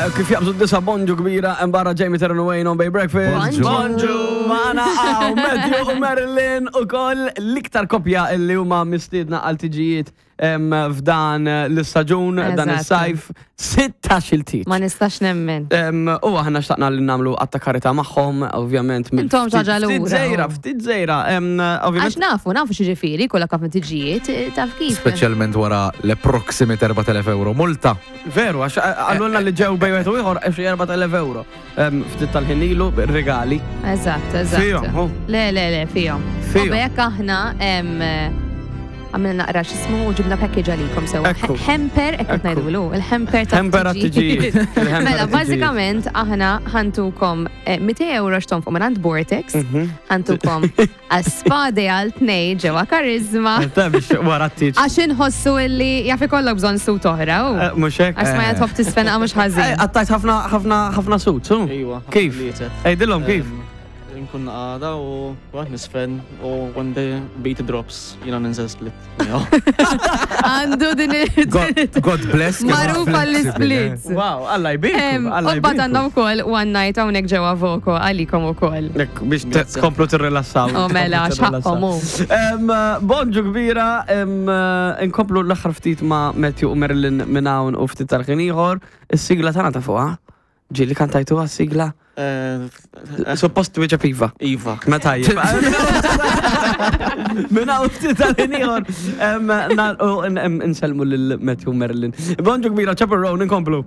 Kif jaqbżu d-disa bonġu kbira barra Jamie Terran Wayne on Bay Breakfast. Bonġu. Mana għaw Matthew u Marilyn u koll l-iktar kopja li huma mistiedna għal tiġijiet f'dan l-istaġun, dan is-sajf, 16 il-tieġ. Ma nistax nemmen. U aħna xtaqna li nagħmlu għatta karita magħhom, ovvjament. Intom ġaġa lura. Ftit żejra, ftit żejra. Għax nafu, nafu x'ġifieri kollha ħafna tiġijiet, eh, taf kif. Speċjalment wara l-approximate 4000 euro multa. Veru, għax għallulna li ġew bejn wieħed u ieħor xi 4000 euro. Ftit tal-ħin ilu regali. Eżatt, eżatt. Fihom, Le, le, le, fihom. Fihom. U bekk aħna għamilna naqra x'ismu u ġibna package għalikom sewa. Hemper, hekk qed ngħidulu, il-hemper ta' Hemper għat-tiġijiet. Mela, bażikament aħna ħantukom 200 eh, euro x'tonfqu minn Vortex, mhm. ħantukom għas-spade għal tnej ġewwa karizma. Wara t-tiġ. Għax inħossu illi jaf ikollok bżonn sut oħra. Eh, mhux hekk. Għax ma jatħobb tisfena mhux ħażin. Eh, għattajt ħafna ħafna ħafna sut, su? Iwa. Kif? Ejdilhom kif? Nkun għada u għad nisfen u when the beat drops jina ninżel split. Għandu din God bless. Magħruf għall-splits. Wow, Alla jbirku. U bat għandna wkoll one night hawnhekk ġewwa Voko għalikom ukoll. Biex tkomplu tirrilassaw. Oh mela, x'ħaqhom hu. Bonġu kbira, nkomplu l-aħħar ftit ma' Matthew u Marilyn minn hawn u ftit tal-ħin ieħor. Is-sigla tagħna ta' fuqha. Ġieli kantajtuha s-sigla? Eh, Suppost twieġeb iva. Iva. Ma tajjeb. Minn hawn ftit tal-ħin ieħor nagħlqu nsellmu lil Matthew Merlin. Bonġu kbira, Chappell Roan, inkomplu.